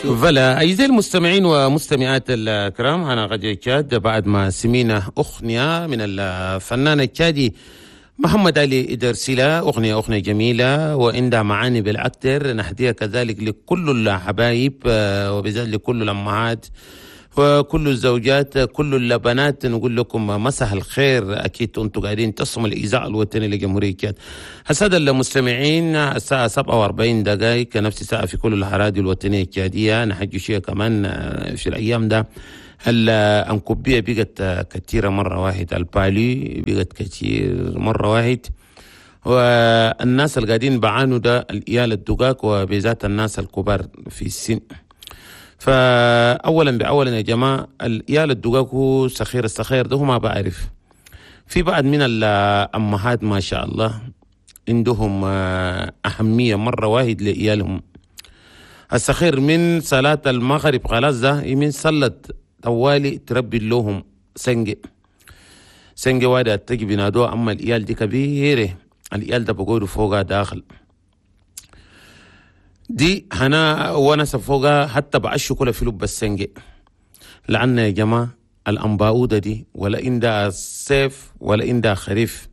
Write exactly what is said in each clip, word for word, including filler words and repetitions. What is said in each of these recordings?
Voilà، أعزائي المستمعين ومستمعات الكرام، هنا راديو تشاد، بعد ما سمينا أغنية من الفنان التشادي محمد علي إدرسيلا، أغنية أغنية جميلة وعندها معاني بالأكثر، نهديها كذلك لكل الحبايب آه، وبالذات لكل الأمهات وكل الزوجات، كل البنات، نقول لكم مساء الخير. اكيد انتم قاعدين تسمعوا الاذاعة الوطنية لجمهوريه تشاد. السادة المستمعين، الساعة سبعة وأربعين دقائق، نفس الساعة في كل الاراضي الوطنية التشاديه. نحكي شوية كمان في الايام ده الأنكوبية بقت كثيرة مرة واحد، ال palu بقت كثير مرة واحد، والناس اللي قاعدين بعانوا ده العيال الدقاق وبذات الناس الكبار في السن. فاولا باولا يا جماعه، العيال الدقاق هو سخير، السخير ده هو ما بعرف. في بعض من الامهات ما شاء الله عندهم اهمية مرة واحد لعيالهم السخير، من صلاة المغرب خلاص ده من صلت طوالي تربي لهم سنجي، سنجي واحدة تجي بينادوها. أما الإيال دي كبيرة، الإيال ده بقولوا فوقها داخل دي هنا ونس فوقها، حتى بعشوا كل في لب السنجي، لأن يا جماعة الأنباؤودة دي ولا عندها صيف ولا عندها خريف.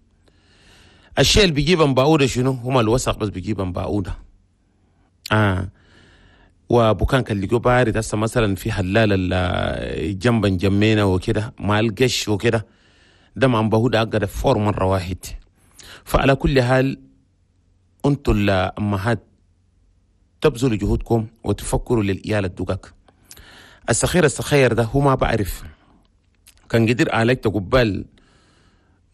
الشيء اللي بيجيب أنباؤودة شنو؟ هما الوسخ بس بيجيب أنباؤودة. آه وبكان كان اللي بارد هسه مثلا في حلال جنبا جمينا وكده مع القش وكده، ده مع أنباؤودة أقدر فور مرة واحد. فعلى كل حال، انتوا الأمهات تبذلوا جهودكم وتفكروا للإيال الدقاق السخير. السخير ده هو ما بعرف، كان قدر عليك قبال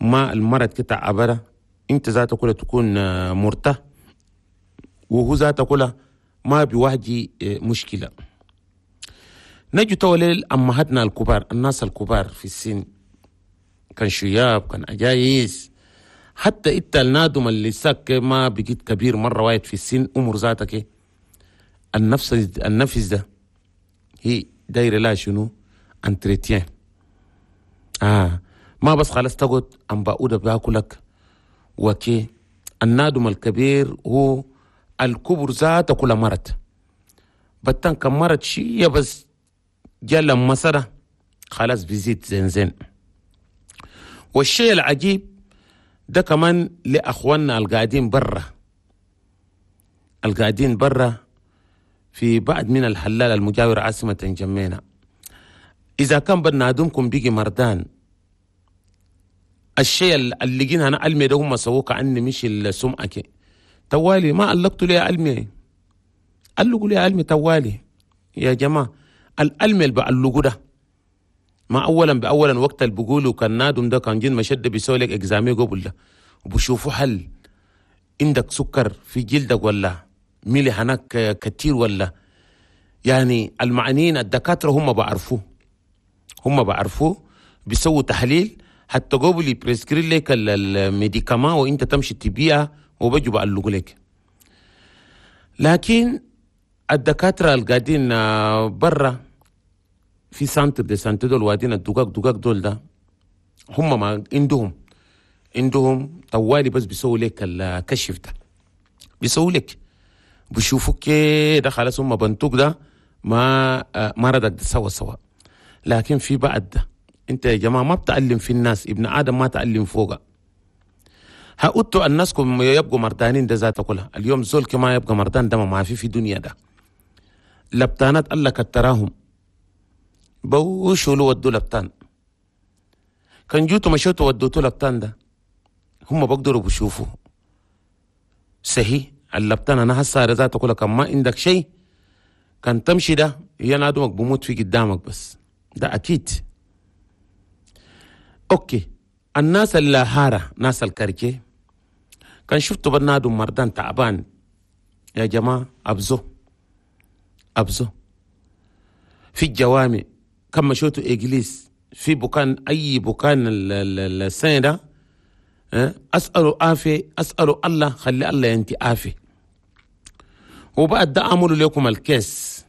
ما المرض كده عبره، انت ذاته كلها تكون مرتاح وهو ذاته كلها ما بيواجه مشكلة. نجي تولي أمهاتنا الكبار، الناس الكبار في السن، كان شياب كان عجايز، حتى انت النادم اللي ساك ما بقيت كبير مرة واحد في السن، أمور ذاتك النفس النفس ده هي دايرة لا شنو؟ entretien. آه ما بس خلاص تقعد أم باؤدة باكلك وكي. النادم الكبير هو الكبر ذاته كل مرض بتان، كم مرض شيء بس جا مسرة خلاص بيزيد زين زين. والشيء العجيب ده كمان لأخواننا القاعدين برا، القاعدين برا في بعض من الحلال المجاور عاصمة جمينة، إذا كان بنادمكم بيجي مردان، الشيء اللي جينا أنا علمي ده هم سووه كأني مش السمعة توالي ما علقتوا لي علمي، علقوا لي علمي توالي يا جماعة. العلم اللي بعلقوا ده ما اولا باولا وقت اللي بيقولوا كان نادم ده كان جن مشد بيسوي لك examen قبل ده وبشوفوا هل عندك سكر في جلدك ولا ملح هناك كتير ولا، يعني المعنيين الدكاترة هم بعرفوه، هم بعرفوه، بيسووا تحليل حتى قبل prescrire لك ال médicament وانت تمشي تبيعها وبجوا بعلقوا لك. لكن الدكاترة القاعدين برا في centre de santé دول وادين الدقاق دقاق دول ده هم ما عندهم عندهم طوالي بس بيسووا لك الكشف ده، بيسووا لك بيشوفوك كده خلاص هم بنتوك ده ما مرضك ده سوا سوا. لكن في بعد ده انت يا جماعة ما بتعلم في الناس، ابن ادم ما تعلم فوقه. هقولتوا الناس كم يبقوا مردانين ده ذاته كلها، اليوم زول كما يبقى مردان ده ما في في دنيا ده. لبتانات الله كتراهم بوشوا له ودوا لبتان، كان جوتوا مشيتوا ودوتوا لبتان ده هم بقدروا بشوفوا صحيح اللبتان. انا هسه ذاته كلها كان ما عندك شيء كان تمشي ده هي نادمك بموت في قدامك بس ده اكيد. OK، الناس اللي هارة، ناس ال quartier، كان شفتوا بنادم مردان تعبان يا جماعة أبزو أبزو في الجوامع، كم مشيتوا église في بكان أي بكان السنة ده أسألوا عافية، أسألوا الله، خلي الله ينتي عافية. وبعد ده عملوا لكم ال caisse.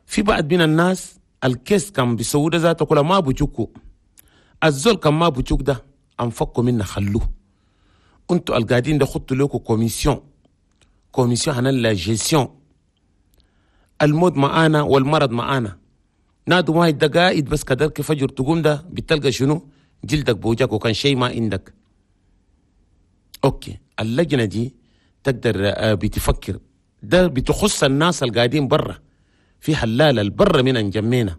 في بعض من الناس ال caisse كان بيسووا ده ذاته كله ما بيجوكوا، الزول كان ما بيجوك ده انفقوا منه خلوه. انتوا القاعدين ده خدتوا لكم commission، commission هنا la gestion. الموت معانا والمرض معانا. نادو ما دقائق بس كدرك فجر تقوم ده بتلقى شنو؟ جلدك بوجهك وكان شيء ما عندك. okay اللجنة دي تقدر بتفكر ده بتخص الناس القاعدين برا في حلال البر من انجمينا.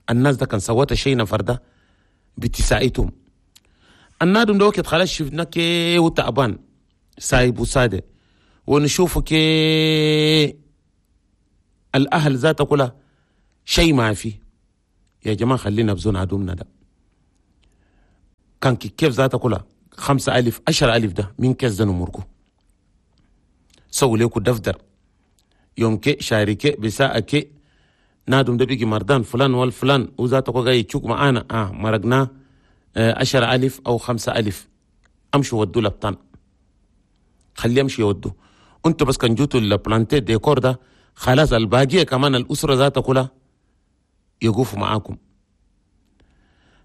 الناس ده كان سوت شيء نفر ده بتساعدهم. النادم ده وقت خلاص شفنا كي وتعبان سايب وساده ونشوفه كي الأهل ذاته كلها شيء ما في. يا جماعة خلينا بزون عدومنا ده كان كيف ذاته كلها خمسة ألف عشر ألف ده من كيس ده نمركو سووا ليكو دفتر يوم كي شاركي بساعة كي نادم ده بيجي مردان فلان والفلان وذاته جاي يتشوك معانا آه مرقنا عشر ألف أو خمسة ألف أمشوا ودوا لبطان خليه يمشي يودوا. انتوا بس كان جوتوا ال planté décor ده خلاص الباقية كمان الأسرة ذاتها كلها يقفوا معاكم.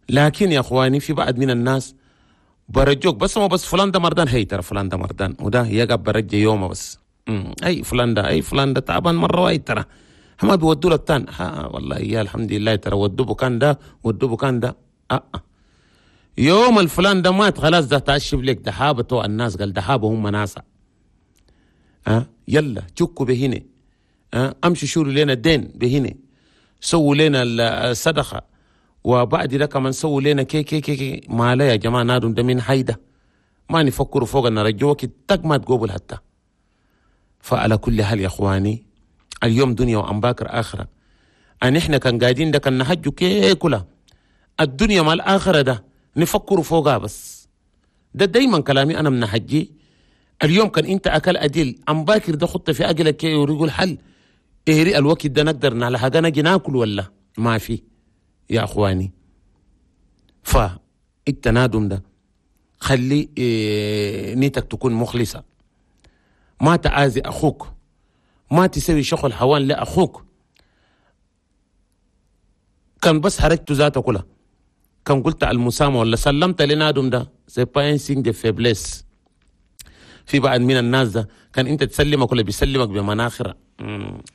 لكن يا أخواني في بعض من الناس برجوك بس ما بس فلان ده مردان هي ترى فلان ده مردان وده يقع برجي يومه بس مم. أي فلان ده أي فلان ده تعبان مرة وايد ترى ما بيودوا لبطان. ها والله يا الحمد لله ترى ودوا بكان ده ودوا بكان ده أه. يوم الفلان ده مات خلاص ده تعشب لك دحابته الناس قال دحابه هم ناسا أه؟ يلا تشكوا بهنا أه؟ امشوا شوروا لنا الدين بهنا سووا لنا الصدقة وبعد ده كمان سووا لنا كي كي كي, كي. ما لا يا جماعة نادم ده من حيده ما نفكروا فوق ان رجوك تك ما تقوبل حتى. فعلى كل حال يا اخواني اليوم دنيا وأم باكر اخره. ان احنا كان قاعدين ده كان نحجوا كي كلها الدنيا مع الاخرة ده نفكروا فوقها بس. ده دايما كلامي انا من حجي. اليوم كان انت اكل اديل ام باكر ده خطه في اجلك ويقول حل اهري الوقت ده نقدر على حاجة نجي ناكل ولا ما في يا اخواني. فالتنادم ده خلي إيه نيتك تكون مخلصة، ما تعازي اخوك، ما تسوي شغل حوان لاخوك. كان بس حركته ذاته كلها كان قلت على المسامة ولا سلمت لنادم ده c'est pas un signe de faiblesse. في بعض من الناس ده كان انت تسلمك ولا بيسلمك بمناخره.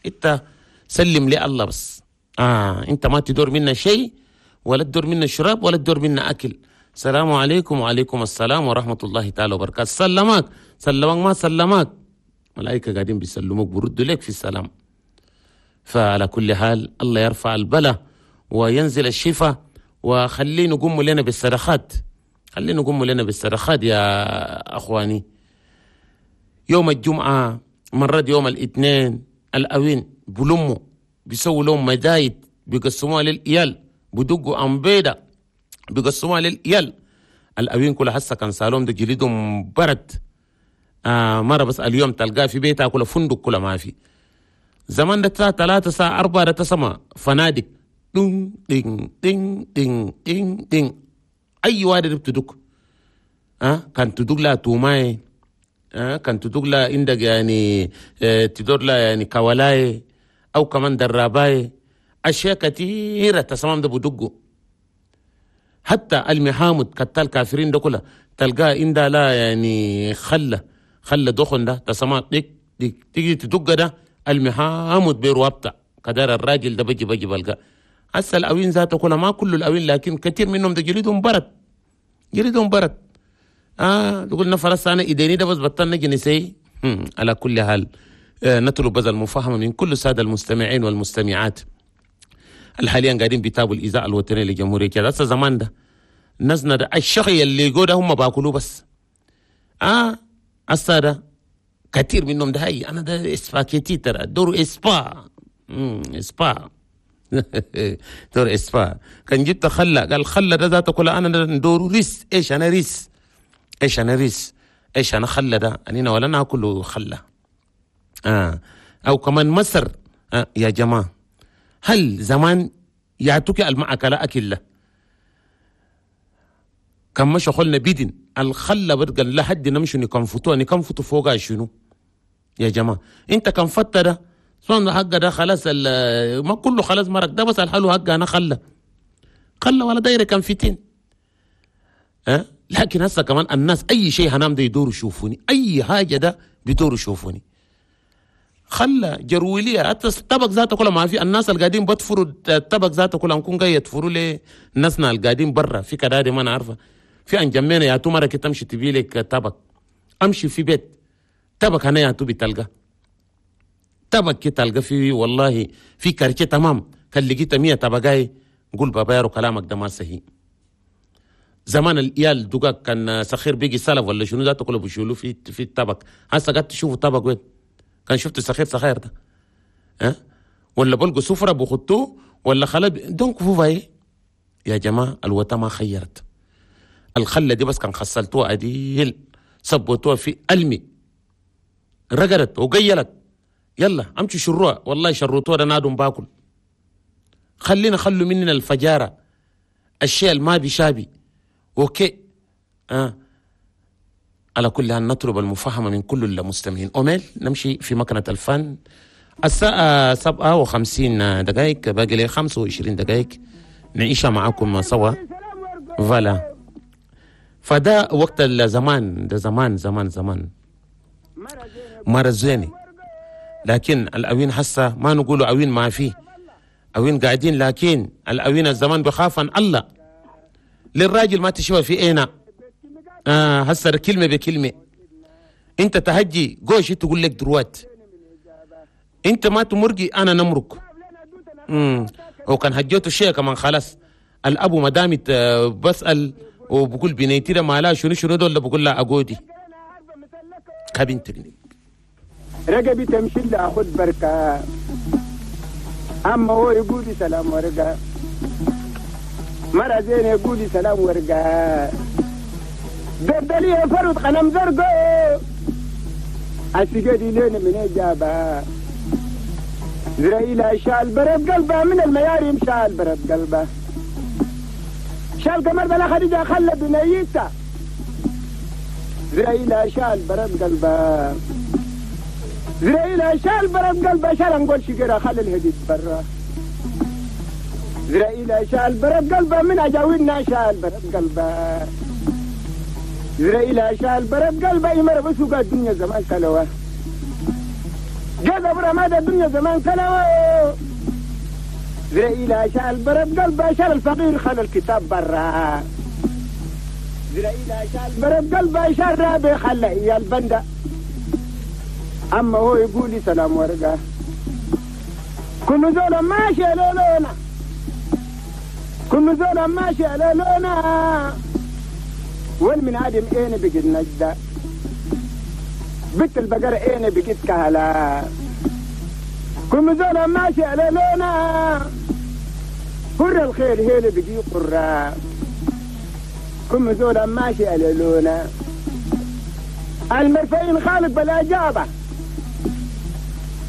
انت سلم لي الله بس آه انت ما تدور منا شيء ولا تدور منا شراب ولا تدور منا اكل. السلام عليكم وعليكم السلام ورحمة الله تعالى وبركاته. سلمك سلمك ما سلمك ملائكة قاعدين بيسلموك بردوا لك في السلام. فعلى كل حال الله يرفع البلاء وينزل الشفاء وخلينا نقوم لنا بالصدقات، خلينا نقوم لنا بالصدقات يا اخواني. يوم الجمعة مرات يوم الاثنين الأوين بلموا بيسووا لهم مدايد بيقسموها للإيال بدقوا أمبيدة بيقسموها للإيال. الأوين كلها هسه كان سالهم ده جلدهم برد آه مرة بس اليوم تلقاه في بيتها كله فندق كله ما في. زمان ده ثلاثة ساعة أربعة ده تسمى فنادق دين دين دين دين دين دين أي واحد بتدق آه كان تدق لها توماي آه كان تدق لها عندك يعني آه تدور لها يعني كولاي أو كمان دراباي أشياء كثيرة تسمام ده بدقوا. حتى المحامد كتال كافرين ده كلها تلقاه عندها لا يعني خلة خلة دخن ده تسمع ديك ديك تيجي تدق ده المحامد بيروابطة كدار الراجل ده بجي بجي بلقى. هسه الأوين ذاته كلها ما كل الأوين لكن كثير منهم ده جلدهم برد جلدهم برد آه تقول نفر هسه أنا إيديني ده بس بطلنا جنسي. على كل حال آه نطلب بذل المفاهمة من كل السادة المستمعين والمستمعات الحاليا قاعدين بيتابعوا الإذاعة الوطنية لجمهورية كذا. هسه زمان ده نزنا ده الشقي اللي يقول هم باكلوه بس آه هسه ده كثير منهم ده هاي أنا ده إسباكيتي ترى دور إسبا امم إسبا دور إسبا كان جبت خلة قال خلة ده ذاته كله أنا ندور ريس إيش أنا ريس إيش أنا ريس إيش أنا خلة ده أنا ولا ناكله خلة آه أو كمان مصر آه يا جماعة هل زمان يعطوك المعكلة أكلة كم مش خلنا بيدن الخلة بدقل لحد نمشي نكنفتوها نكنفتو فوقها شنو يا جماعة انت كم فتة ده سواء حق ده خلاص ما كله خلاص مرق ده بس الحلو حق انا خلة خلة ولا دايرة كم فتين أه؟ لكن هسه كمان الناس اي شيء هنام ده يدوروا يشوفوني اي حاجة ده بيدوروا يشوفوني. خلى جرولية حتى الطبق ذاته كله ما في. الناس القاعدين بتفروا الطبق ذاته كله نكون جاي يتفروا لي ناسنا القاعدين برا في كدادي ما نعرفه في انجمينا يا تو مرة كي تمشي تبي لك طبق امشي في بيت طبق هنا يا تو بتلقى طبق كي تلقى في والله في quartier تمام كان لقيت مية طبقاي قول بابا يارو كلامك ده ما صحيح. زمان الإيال دقاق كان سخير بيجي سلف ولا شنو ذاته كله بيشيلوه في في الطبق. هسه قاعد تشوفوا طبق وين؟ كان شفت سخير سخير ده ها أه؟ ولا بلقوا سفرة بخطوه ولا خلا donc vous voyez يا جماعة الوطا ما خيرت الخلة دي بس كان خسلتوها عديل سبوتوها في ألمي رقدت وقيلت يلا امشوا شروها والله شروتوها ده نادم باكل. خلينا خلوا مننا الفجارة الشيء ما بيشابي OK. آه. على كل حال نطلب المفاهمة من كل المستمعين. أوميل نمشي في مكنة الفن. الساعة سبعة وخمسين دقائق باقي لي خمسة وعشرين دقائق نعيشها معاكم سوا. voilà فده وقت الزمان ده زمان زمان زمان مرزيني. لكن الأوين حسا ما نقولوا أوين ما فيه أوين قاعدين، لكن الأوين الزمان بخاف عن الله للراجل ما تشوى في اينا. آه هسه كلمة بكلمة انت تهجي gauche تقول لك droite انت ما تمرقي انا نمرق. امم وكان هجيته الشيء كمان خلاص الابو مدامي بسأل وبقول بنيتي ده مالها شنو شنو دول بقول لها اقودي كابين تقني رقبي تمشي لها خد بركة. اما هو يقولي سلام ورقة مرة زين يقولي سلام ورقة دردلي فرد قلم زرقو السجادي لين من إجابة زرائيل شال برد قلبه من المياريم شال برد قلبه شال قمر بلا خديجة خلى بنيته زرائيل شال برد قلبه زرائيل شال برد قلبه شال نقول شجرة خلى الهديد برا زرائيل شال برد قلبه من أجاوينا شال برد قلبه زرائيل شال برد قلبه يمر بسوق الدنيا زمان كلوه جذب رماد الدنيا زمان كلوه زرائيل شال برد قلبه شال الفقير خلى الكتاب برا زرائيل شال برد قلبه شال رابي خلى إيا البندة. أما هو يقولي سلام ورقة كل زولا ماشي لولونا كل زولا ماشي على لونا والمن عدم اين بقت نجدة بنت البقرة اين بقت كهلا كل زولا ماشي على لونا قر الخير هيل بقي قرة كل زولا ماشي على لونا المرفعين خالق بلا جابة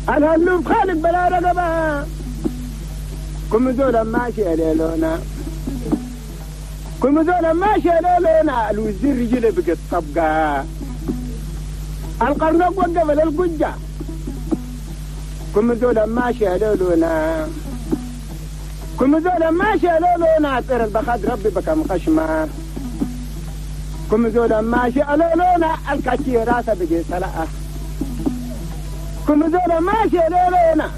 الهلوب خالق بلا رقبة كل زولا ماشي على لونا كل زولا ماشي على لونا الوزير رجله بقت طبقة القرنق وقف للقجة كل زولا ماشي على لونا كل زولا ماشي على لونا طير البخاد ربي بكم خشمة كل زولا ماشي على لونا الكاتي راسه بقي سلاة كل زولا ماشي على لونا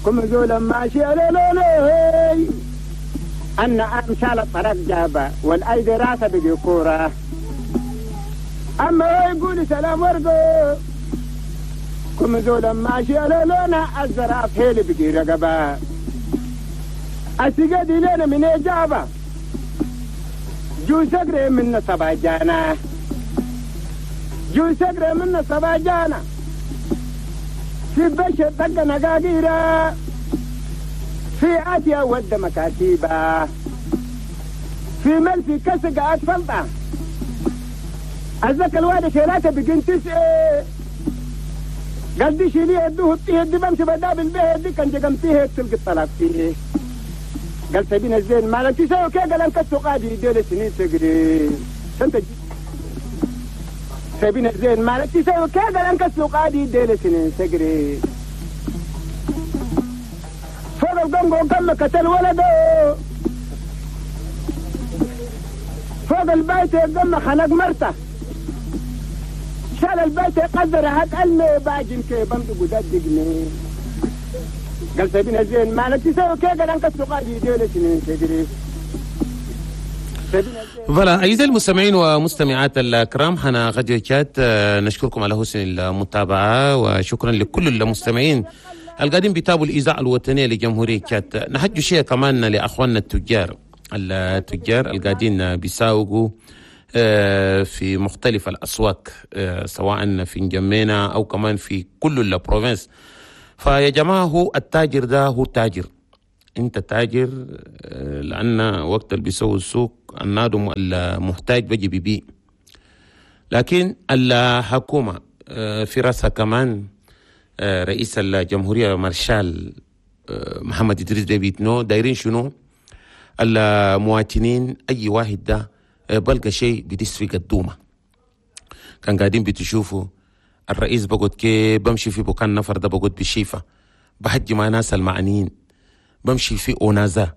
كل زولا ماشي على لونا أن أمشال الطرق جابة والأيدي راسه بقي كورة. أما هو يقول سلام ورقو كل زولا ماشي على لونا الزراف هيلي بقي رقبة السجادي لنا من إجابة جو سقري من سبع جانا جو سقري من سبع جانا في بشر طق نقاقيرة في آتيا ود مكاتيبة في ملفي كسق أطفلطة أزك الوالد شيلاته بقين تسعة قال دي شيليه ادوه الطيه دي بمشي بدابل به دي كان جقمتيه تلقي الطلاق فيه قال سبين الزين مالك تسوي كي قال انك قادي ديل سنين تقري انت سبين الزين مالك تسوي كي قال انك قادي ديل سنين تقري فوق القنقو كم قتل ولده فوق البيت قم خنق مرته شال البيت قدر هات المي باجن كي بمدق دقني قال سبينا زين ما نتسوي كي قال انك تقادي دولة تدري. Voilà، أعزائي المستمعين ومستمعات الكرام، حنا راديو تشاد، آه، نشكركم على حسن المتابعة وشكرا لكل المستمعين القاعدين بيتابعوا الإذاعة الوطنية لجمهورية تشاد. نحجوا شيء كمان لأخواننا التجار، التجار القاعدين بيساوقوا آه، في مختلف الأسواق، آه، سواء في نجمينا أو كمان في كل ال provinces. فيا جماعة، هو التاجر ده هو تاجر، انت تاجر، آه، لان وقت اللي بيسوي السوق النادم المحتاج بيجي بيبيع، لكن الحكومة آه، في راسها كمان آه، رئيس الجمهورية مارشال آه، محمد إدريس ديبي إتنو، دايرين شنو؟ المواطنين أي واحد ده آه، بلقى شيء بدس في قدومه. كان قاعدين بتشوفوا الرئيس بقعد كي بمشي في بكان نفر ده، بقعد بشيفة، بحجي مع ناس المعنيين، بمشي في أونازا.